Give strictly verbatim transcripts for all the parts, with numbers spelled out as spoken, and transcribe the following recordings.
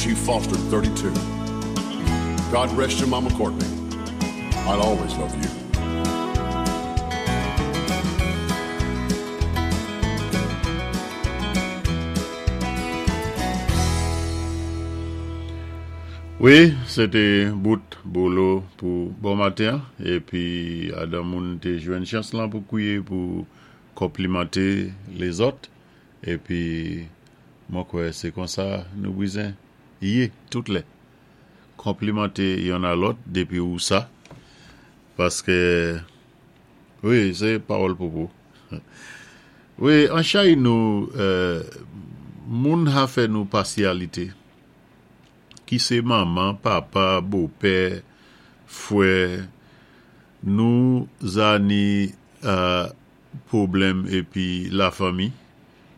She fostered thirty-two. God rest you, Mama Courtney. I'll always love you. Wi, sé té bout Bolo pou bon maten, épi adan moun té jwenn chans lan pou kwiyé pou konplimanté lézòt, épi mwen kwè sé konsa nou bizen yé tout lè. Konplimanté yonn a lòt dépi ou sa, paské wi, sé pawòl Popo. Wi, an chay nou, moun ha fè nou pasyalité, ki sé manman, papa, bopè, fwè, nou za ni pwoblèm épi lafanmi,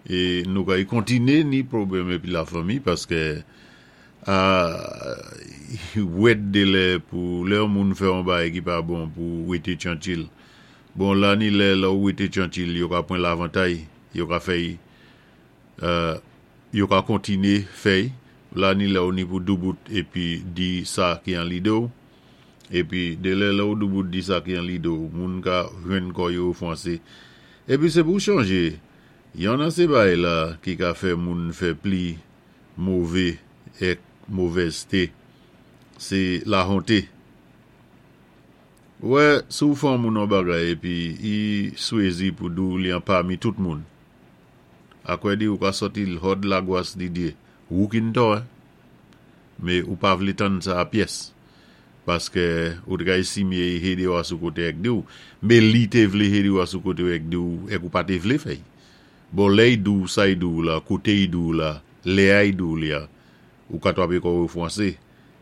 é nou kay kontiné ni pwoblèm épi lafanmi paské wèt dé lè pou lè yon moun fè yon bagay ki pa bon pou wété tyantil. Bon, la ni lè lè ou wété tyantil, yo ka pwan lavantay, yo ka fè'y, yo ka kontiné fè'y, la ni lè ou ni pou doubout épi di sa ki an lidé-w, épi dé lè lè ou doubout di sa ki an lidé-w, moun ka jwenn kò yo ofansé. Épi sé pou chanjé, yonn an sé bagay la ki ka fè moun fè pli mové èk movèzté, sé lahonté. Ou wè, si ou fè yon moun yon bagay épi i swézi pou di-w li anpami tout moun, akwè di ou ka sòti hòd lagwas di dyé, wou ki ni tò, mé ou pa vlé tann sa a pyès, paské ou té ka èstimé i hédé ou asou koté èk di-w, mé li té vlé hédé ou asou koté èk di-w èk ou pa té vlé fè'y. Bon, lè i di-w sa i di-w la, koté i di-w la, lè a i di-w li a, ou ka twapé kò ou fwansé,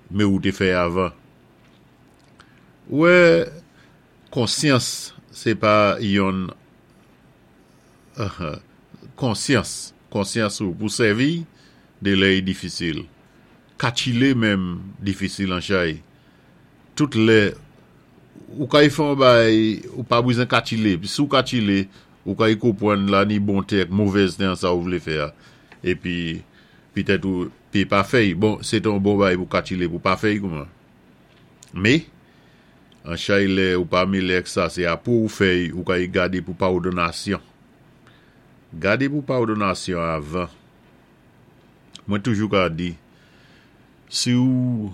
mé ou té fè avan. Ou wè, konsyans, sé pa yonn konsyans, konsyans ou pou sèvi, dé lè i difisil. Katchilé menm difisil an chay. Tout lè, ou kay fè yon bagay, ou pa bizwen katchilé, pi si ou katchilé, ou kay konpwann la ni bonté ak movèzté an sa ou vlé fè a. Épi, pitèt ou pi pa fè'y. Bon, sé té yon bon bagay pou katchilé pou pa fè'y kouman. Mé, an chay lè ou pa mélé ak sa, sé apou ou fè'y, ou kay gadé pou pawdonnasyon. Gadé pou pawdonnasyon avan. Mwen toujou ka di, si ou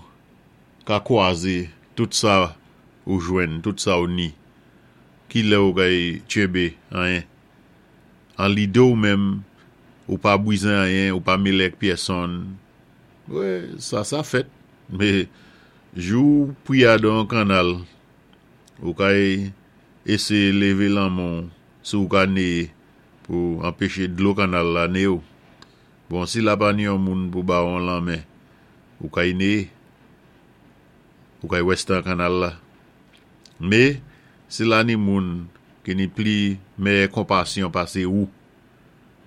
ka kwazé tout sa ou jwenn, tout sa ou ni, ki lè ou kay tchenbé anyen. An lidé ou menm, ou pa bizwen anyen, ou pa mélé ak pyèsonn. Wè, sa sa fèt. Mé, jou ou pwi adan yon kannal, ou kay éséyé lévé lanmen-w si ou ka néyé pou anpéché dlo kannal la néyé-w. Bon, si la pa ni yon moun pou ba ou yon lanmen, ou kay néyé. Ou kay wèsté an kannal la. Mé, si la ni moun ki ni pli mèyè konpasyon pasé ou,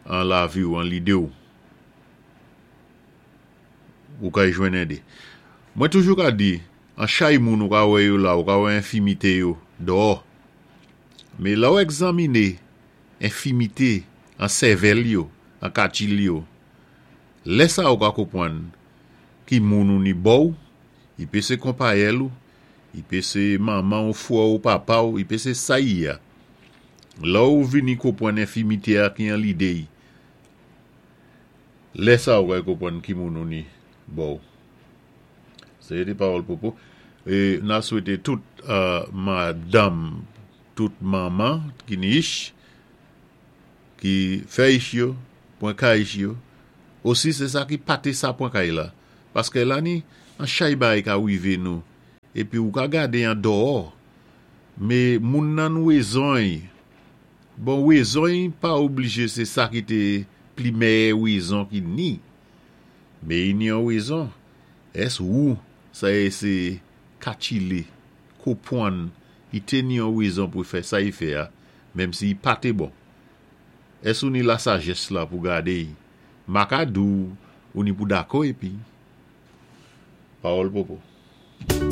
an lavi ou, an lidé ou, ou kay jwenn édé. Mwen toujou ka di, an chay moun ou ka wè yo la, ou ka wè enfimité yo, dò. Mé lè ou egzaminé enfimité an sèvèl yo, an katchil yo, lè sa ou ka konpwann ki moun ou ni bò ou, i pé sé konpayèl ou, i pé sé manman ou, fwè ou, papa ou, i pé sé sa i yé a. Lè ou vini konpwann enfimité a ki an lidé i, lè sa ou kay konpwann ki moun ou ni bò ou. Sé té pawòl Popo. É na swété tout madanm, tout manman ki ni ich, ki fè ich yo, pwan kay ich yo, osi sé sa ki pa té sa pwan kay la. Paské la ni, an chay bagay ka wivé nou, épi ou ka gadé an dò, mé moun nan wézon-y, bon wézon-y pa oblijé sé sa ki té pli mèyè wézon ki ni, mé i ni yon wézon, ès ou sa éséyé katchilé, konpwann, i té ni yon wézon pou fè sa i fè a, menm si i pa té bon. Ès ou ni lasajès la pou gadé-y, ma ka di-w ou ni pou dakò épi. Pawòl Popo.